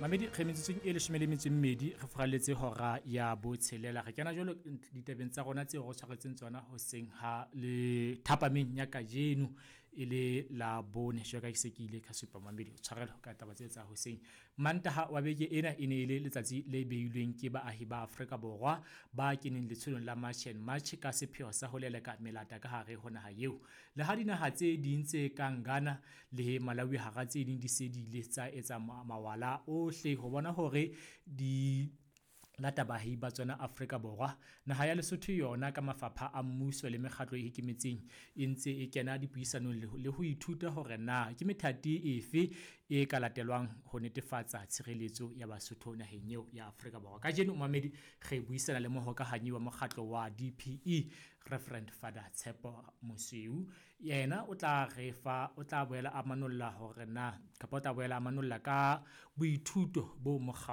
Mamedi, re metsotsong e 12 re furalletse hora ya botshelela. Re kena jwalo ditabeng tsa rona tseo re tshwaretseng tsona hoseng ha le thapameng ya kajeno e le la bone. Jwalo ka ke se ke ile ka supa mamedi, tshwarelo ka taba tse tsa hoseng. Mantaha wa beke ena e ne e le letsatsi le beilweng ke baahi ba Afrika Borwa ba keneng letsholong la March and March ka sepheo sa ho leleka melata ka hare ho naha eo. Le ha dinaha tse ding tse kang Ghana le Malawi hara tse ding di se di ile tsa etsa mawala ohle ho bona hore di lata baahi ba tsona Afrika Borwa. Naha ya Lesotho yona ka mafapha a mmuso le mekgatlo e ikemetseng e ntse e kena dipuisanong le ho ithuta hore na ke methati efe e ka latelwang ho netefatsa tshireletso ya Basotho naheng eo ya Afrika Borwa. Kajeno mamedi re buisana le mohokahanyi wa mokgatlo wa DPE Reverend Father Tshepo Mosweu. Yena o tla re fa, o tla boela a manolla hore na kapa o tla boela a manolla ka boithuto bo mokgatlo